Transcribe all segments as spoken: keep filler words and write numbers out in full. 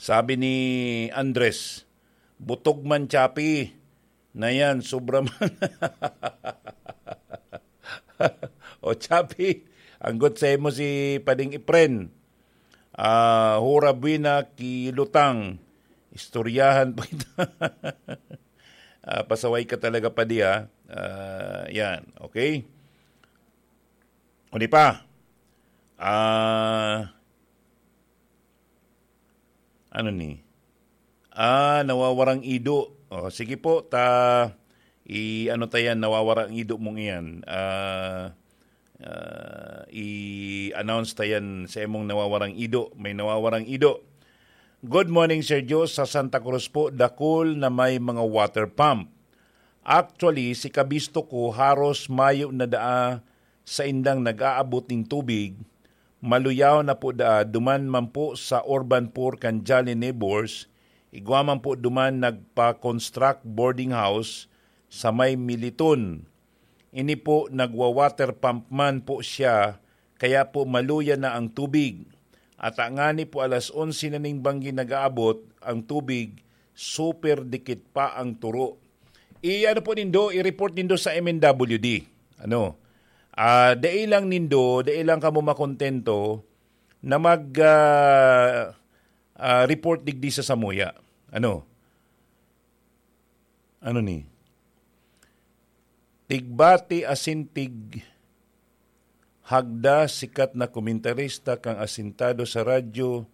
Sabi ni Andres, "Butog man, Chapi, na yan, sobra man." O, Chapi, anggot sa imo si Pading Ipren. Ah, hura buena ki lutang. Istoryahan pa kita. Ah, pasaway ka talaga, Padi, ah. Ah, yan, okay? O di pa? Ah, ano ni? Ah, nawawarang ido. O, sige po, ta, i-ano ta yan, nawawarang ido mong iyan. Ah, ah, i-announce ta yan sa imong nawawarang ido. May nawawarang ido. "Good morning, Sir Joe. Sa Santa Cruz po, dakul na may mga water pump. Actually, si kabisto ko, haros mayo na daa saindang nag-aabot nin tubig. Maluyaw na po daa, duman man po sa urban poor kan Jolly Neighbors, igwa man po duman nagpa-construct boarding house sa may Militon. Ini po, nagwa-water pump man po siya, kaya po maluya na ang tubig. At ngani po alas onse na ning banggi nag-aabot ang tubig, super dikit pa ang turo." I-ano po nindo, i-report nindo sa M N W D. Ano? Ah, dai lang nindo, dai lang kamo makontento na mag, ah, ah, report digdi sa samuya. Ano? Ano ni? Tigbati asin tig hagda, sikat na komentarista kan asintado sa radyo,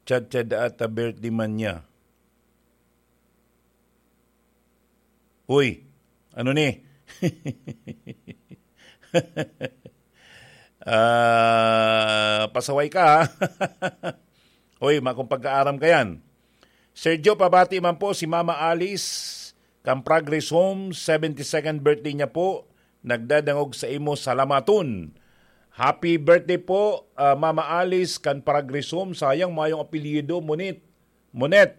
Chacha Daata, birthday man niya. Uy, ano ni? Ah, pasaway ka, ha? Uy, makong pagkaaram ka yan. Sir Joe, pabati man po si Mama Alice kan Progress Home, seventy-second birthday niya po. Nagdadangog sa imo, salamaton. Happy birthday po, ah, Mama Alice kan Progress Home. Sayang, mayong apelyido, Monet. Monet.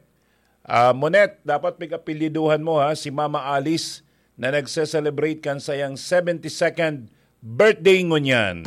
Ah, Monet, dapat pig-apelyiduhan mo, ha, si Mama Alice na nagse-celebrate kan sayang seventy-second birthday ngunyan.